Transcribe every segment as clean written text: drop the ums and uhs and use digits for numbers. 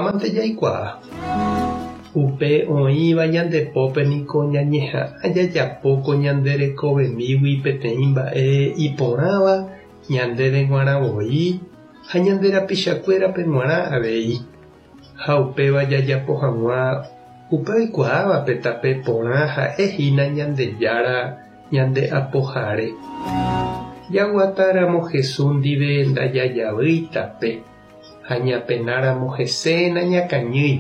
Mante jaikuaa. Upe oĩva ñande pópe niko ñañeha'ã jajapo ko ñande rekovemígui peteĩ mba'e iporãva ñandéve g̃uarã voi ha ñande rapichakuérape g̃uarã avei. Ha upéva jajapo hag̃ua upe oikuaáva pe tape porã ha'e hína Ñandejára ñande Apohare. Jaguatáramo Jesús ndive ndajajavýi tape. Ha ñapenáramo hese nañakañýi.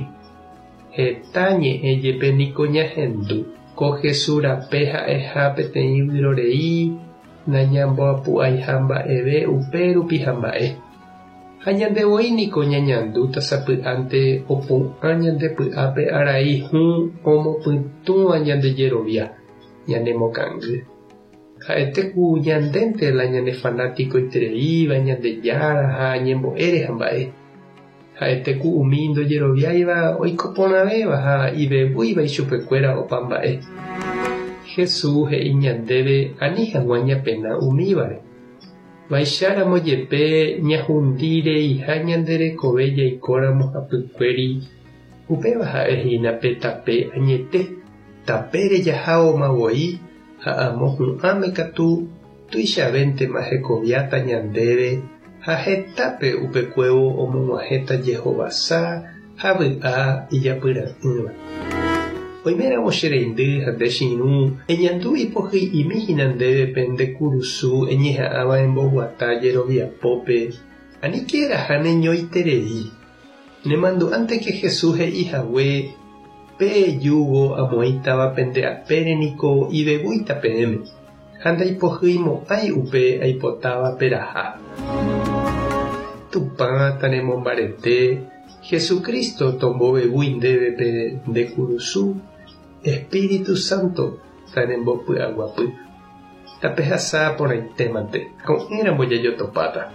Heta ñe'ẽ jepe niko ñahendu. Ko Jesús rape ha'eha peteĩ vyrorei nañamboapu'aiha mba'eve upérupi ha mba'e. Ha ñande voi niko ñañandúta sapy'ánte opu'ã ñande py'ápe arai hũ omopytũva ñande jerovia, ñanemokangy. Ha'ete ku ñandénte la ñane fanatikoitereíva Ñandejára ha ñembo'ére ha mba'e. Ha'ete ku umi ndojeroviáiva oiko porãvéva ha ivevúiva ichupekuéra opa mba'e. Jesús he'i ñandéve ani hag̃ua ñapena umívare. Vaicharamo jepe ñahundi reiha ñande rekove jaikóramo hapykuéri, upéva ha'e hína pe tape añete, tapére jaháoma voi Ha amo hu'ãme katu tuichavéntema hekoviáta ñandéve ha hetápe upekuévo omog̃uahẽta jehovasa ha vy'a ijapyra'ỹva. Oiméramo che reindy ha nde che irũ, eñandu ipohyi'imi hína ndéve pe nde kurusu eñeha'ãva emboguata jeroviapópe, aníke eraha neñoiterei. Nemandu'ánteke Jesús he'i hague, Pe júgo amoĩtava pende apére niko ivevúita peẽme, ha ndaipohyimo'ãi upe aipotáva peraha. Tupã tanemombarete, Jesucristo tombovevúi ndéve pe nde kurusu, Espíritu Santo tanembopy'aguapy. Tapehasa porãitémante, ko'ẽramo jajotopáta.